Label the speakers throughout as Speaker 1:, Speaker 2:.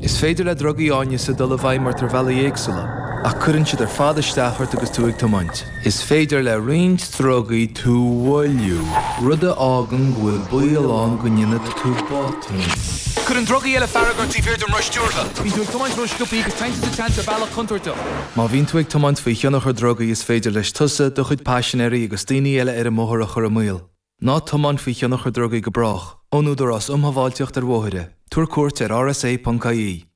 Speaker 1: Is féidir le drugaí áineasa dul i bhfeidhm ort ar bhealaí éagsúla, ach cuireann siad ar fad isteach ort agus tú ag tiomáint. Is féidir le roinnt drugaí tú a mhoilliú, rud a fhágann go bhfuil baol ann go ndéanfaidh tú botún. Cuireann drugaí eile fearg ort taobh thiar den roth stiúrtha. Bíonn tú ag tiomáint ró-sciobtha agus téann tú sa tseans ar bhealach contúirteach. Má bhíonn tú ag tiomáint faoi thionchar drugaí is féidir leis tusa, do chuid paisinéirí agus daoine eile ar an mbóthar a chur i mbaol. Ná tiomáin faoi thionchar drugaí go brách. Ón Údarás um Shábháilteacht ar Bhóithre. Tabhair cuairt ar rsa.ie.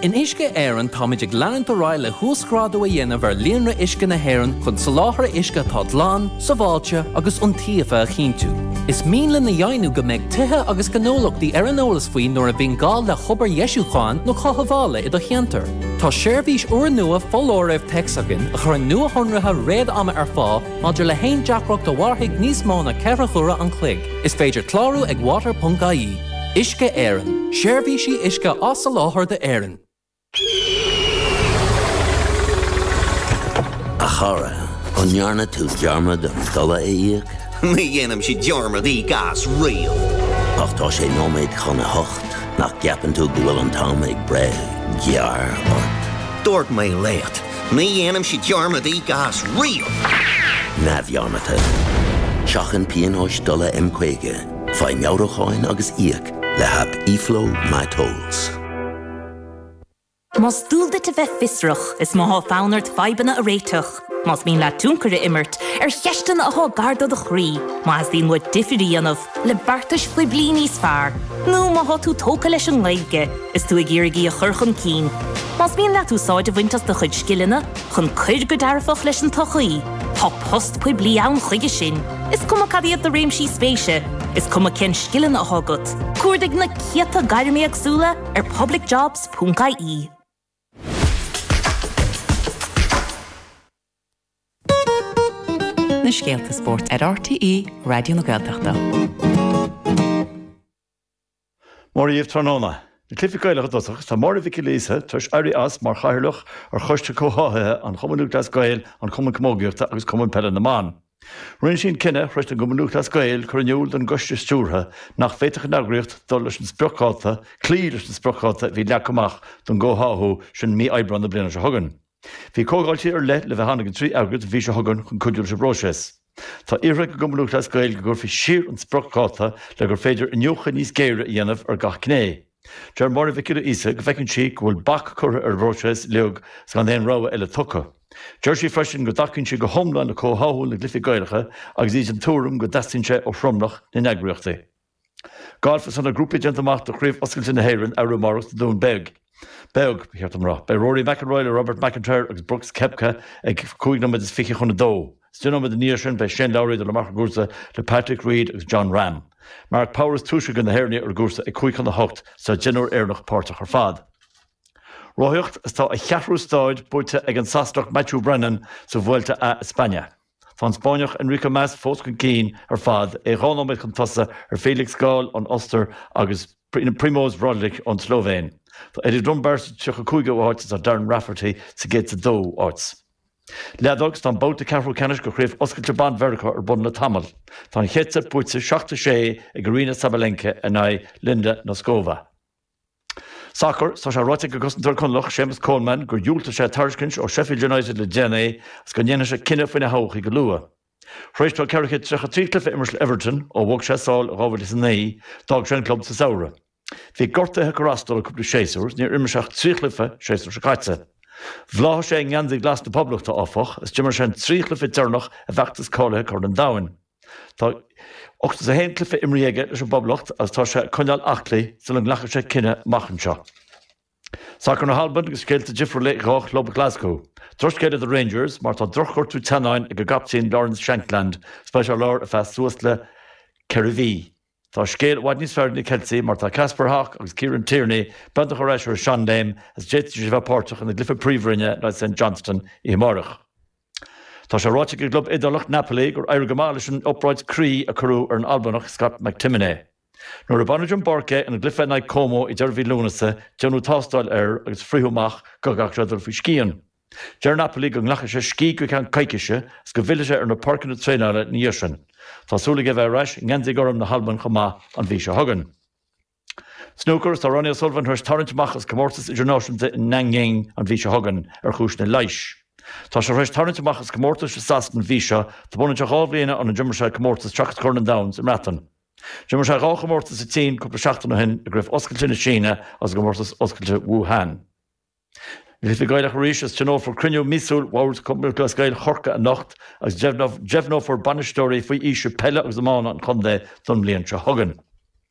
Speaker 2: In Uisce Éireann táimid ag leanúint ar aghaidh le huasghrádú a dhéanamh ar líonra uisce na hÉireann chun soláthar uisce atá glan, sábháilte agus iontaofa a chinntiú. Is mian linn a dheimhniú go mbeidh tithe agus gnólachtaí ar an eolas faoi nuair a bhíonn gá le hobair dheisiúcháin nó chothabhála i do cheantar. Tá seirbhís úrnua foláirimh téacs againn a chuireann nuashonruithe réad-ama ar fáil Maidir le haon deacracht a mhairfidh níos mó ná 4 huaire an chloig, is féidir clárú ag water.ie. Uisce Éireann, seirbhísí uisce á soláthar d'Éirinn.
Speaker 3: A chara, an ndearna tú dearmad an dola a íoc?
Speaker 4: Ní dhéanaimse dearmad íoc as riamh.
Speaker 3: Ach tá sé nóiméad chun a hocht, nach gceapann tú go bhfuil an t-am ag breith gearr ort?
Speaker 4: Dúirt mé leat, Ní dhéanaimse dearmad íoc as riamh!
Speaker 3: Neamhdhearmadta. Seachain pionóis dola M50, faigh meabhrúcháin agus íoc le haip eFlow MyTolls.
Speaker 5: Más dual duit a bheith fiosrach, is má thá fonn ort fadhbanna a réiteach, más mian leat tionchar a imirt ar cheisteanna athá gar do do chroí, má theastaíonn uait difir a dhéanamh le beartais phoiblí níos fearr, nó má thá tú tógtha leis an nGaeilge is tú ag iarraidh í a chur chun cinn, más mian leat úsáid a bhaint as do chuid scileanna chun cuir go dearfach leis an tsochaí, tá post poiblí ann chuige sin. Is cuma cad iad do réimsí spéise, is cuma cén scileanna athá agat, cuardaigh na céadta gairm éagsúla ar publicjobs.ie.
Speaker 6: Na scéalta spóirt ar RTÉ Raidió na Gaeltachta.
Speaker 7: Mora dhaoibh tráthnóna. Na Cluichí Gaelacha i dtosach, tá Máire Mhic Giolla Íosa tar éis éirí as mar chathaoirleach ar Choiste Comhtháthaithe an Chumainn Lúthchleas Gael, an Chumainn Camógaíochta agus Cumann Peile na mBan. Rinne sí an cinneadh tar éis don gCumann Lúthchleas Gael cur in iúl don gcoiste stiúrtha nach bhféadfadh an eagraíocht dul leis an spriocdháta, cloí leis an spriocdháta a bhí leagtha amach don gcomhtháthú sin mí Aibreáin na bliana seo chugainn. Bhí comhdháiltí ar leith le bheith ann ag an dtrí eagraíocht an mhí seo chugainn chun cuidiú leis an bpróiseas. Tá iarrtha ag an gCumann Lúthchleas Gael go gcuirfí siar an spriocdháta le gur féidir iniúchadh níos géire a dhéanamh ar gach gné. Deir Máire Mhic Giolla Íosa go bhfeiceann sí go bhfuil bac curtha ar an bpróiseas uilig 's gan aon rogha eile tugtha. Deir sí freisin go dtacaíonn sí go hiomlán le comhtháthú na gcluichí Gaelacha agus í den tuairim go dteastaíonn sé ó thromlach na n-eagraíochtaí. Galf Is tá na grúpaí déanta amach do Chraobh Oscailte na hÉireann arú amárach sa Dún Beag. Beag, ba cheart dom a rá. Beidh Rory McIlroy le Robert MacIntyre agus Brooks Koepka ag 5 nóiméad is fiche chun a dó. Is 10 nóiméad ina dhiaidh sin beidh Shane Lowry ag dul amach ar an gcúrsa le Patrick Reed agus Jon Rahm. Mark Power is túisce de na hÉireannaigh ar an gcúrsa ag 5 chun a hocht is tá deichniúr Éireannach páirteach ar fad. Rothaíocht Is tá a cheathrú stáid buaite ag an Sasanach Matthew Brennan sa Vuelta a España. Tá an Spáinneach Enrique Mas fós chun cinn ar fad, é 2 nóiméad chun tosaigh ar Felix Gall ón Ostair agus Primoz Roglic ón tSlóivéin. Tá Eddie Dunbar sa 35ú háit agus tá Darren Rafferty sa 102ú háit. Leadóg Tá an babhta ceathrú ceannais de Chraobh Oscailte Ban Mheiriceá ar bun le tamall. Tá an chéad seit buaite 7-6 ag Aryna Sabalenka in aghaidh Linda Noskova. Sacar, Tá sé ráite ag an gcosantóir Conallach, Séamus Coleman, gur dhiúltaigh sé tairiscint ó Sheffield United le déanaí agus go ndéanfaidh sé cinneadh faoina thodhchaí go luath. Tar éis dó 433 cluiche a imirt le Everton ó bhog sé sall i 2009, d'fhág sé an club sa samhradh. Bhí gortuithe ag cur as dó le cúpla séasúr is níor imir sé ach 3 chluiche séasúr seo caite. Bhláthaigh sé i ngeansaí glas na Poblachta, áfach, is d'imir sé an 3 chluiche deireanach i bhfeachtas cáilithe Corn an Domhain. Tá 81 cluiche imrithe aige leis an bPoblacht agus tá sé ag coinneáil aclaí sula nglacfaidh sé cinneadh amach anseo. Sacar na hAlban agus scéalta difriúla ag dhá chlub Ghlaschú. Drochscéal do Rangers mar tá drochghortú teannáin ag a gcaptaen Lawrence Shankland is beidh sé ar lár ar feadh suas le ceithre mhí. Tá scéal i bhfad níos fearr ag na Ceiltigh mar tá Kasper Hogg agus Kieran Tierney beagnach ar ais ar a seanléim agus d'fhéadfadh siad a bheith páirteach ina gcluiche príomhroinne in aghaidh St Johnstone oíche amárach. Tá sé ráite ag an gclub Iodálach Napoli gur éirigh go maith leis an obráid croí a cuireadh ar an Albanach Scott McTominay. Nuair a baineadh den bpáirc é ina gcluiche in aghaidh Como ag deireadh mhí Lúnasa, déanadh tástáil air agus frítheadh amach go gcaithfeadh sé dul faoi scian. Deir Napoli go nglacfaidh sé scíth go ceann coicíse agus go bhfillfidh sé ar na páirceanna traenála ina dhiaidh sin. Tá súil aige a bheith ar ais i ngeansaí gorm na hAlban chomh maith an mhí seo chugainn. Snúcar, Tá Ronnie O'Sullivan tar éis tarraingt amach as comórtas idirnáisiúnta in Nanjing an mhí seo chugainn ar chúiseanna leighis. Tá sé tar éis tarraingt amach as comórtais i Sasana an mhí seo, tá b'ionann sé 2 bhliain óna d'imir sé comórtas seachas Corn an Domhain sa mBreatain. D'imir sé dhá chomórtas sa tSín cúpla seachtain ó shin i gCraobh Oscailte na Síne agus i gcomórtas Oscailte Wuhan. Na Cluichí Gaelacha arís is tionólfar cruinniú míosúil Bhord Chumann Lúthchleas Gael Chorcaí anocht agus deimhneofar bainisteoirí faoi aois peile agus iomána an chontae don mbliain seo chugainn.